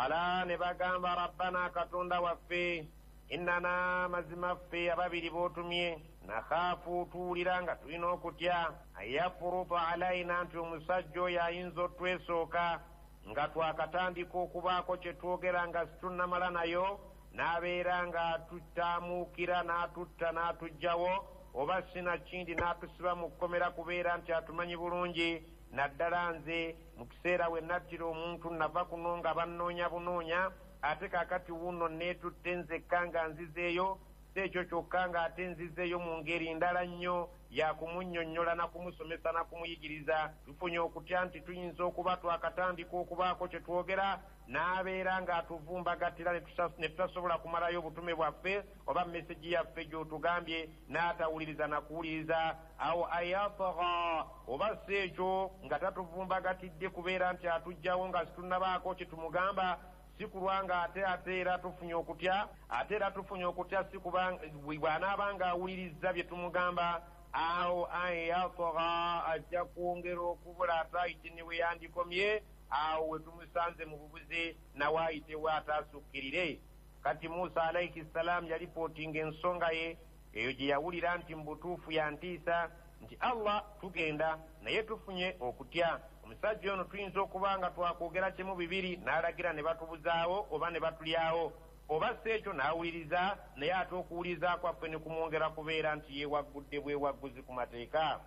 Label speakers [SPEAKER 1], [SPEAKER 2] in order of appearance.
[SPEAKER 1] Ala ne bagamba, rabbana, Katonda waffe, innana, mazima ffe ababiri b'otumye, nakhaafu, tuwulira nga tulina okutya, anyafuruta alaina, nti omusajja oyo ayinza otwesooka nga twakatandika okubaako kye twogera nga situnnamala nayo, n'abeera nga atutaamuukira n'atutta n'atugjawo, oba sinakindi n'atusiba mu kkomera, kubeera nti atumanyi bulungi. Naddala nze mu kiseera we nattira omuntu nava kuno nga bannoonya bunoonya, ate kaakati wuno neetutte nzekka nga nzizeeyo. Si ekyo kyokka, ng'ate nzizeeyo mu ngeri ndala nnyo ya kumunnyonnyola na kumusomesa na kumuyigiriza. Tufunye okutya nti tuyinza okuba twakatandika okubaako kye twogera n'abeera ng'atuvumbagatira ne tutasobola kumalayo obutume bwaffe oba mesegi yaffe gy'otugambye, n'atawuliriza na kuwuliriza. Awo ayatagha, oba si ekyo nga tatuvumbagatidde kubeera nti atugjawo nga situnnabaako kye tumugamba, si kulwa nga ate era tufunye okutya, ate era tufunye okutya si kuba bw'anaaba ng'awulirizza bye tumugamba, awo ayatagha ajja kwongera okubula ate ayite ne we yandikomye, awo we tumusanze mu bubuze nawe ayitewo ate asukkirire. Kati Musa alaihi ssalaamu yalipootinga ensonga ye eyo gye yawulira nti mu butuufu yantiisa nti Allah tugenda naye tufunye okutya omusajja ono tuyinza okuba nga twakwogera kimu bibiri n'alagira ne batubuzaawo oba ne batulyawo, oba si ekyo n'awuliriza naye ate okuwuliriza kwaffe ne kumwongera kubeera nti yeewaggudde bwewagguzi ku mateeka.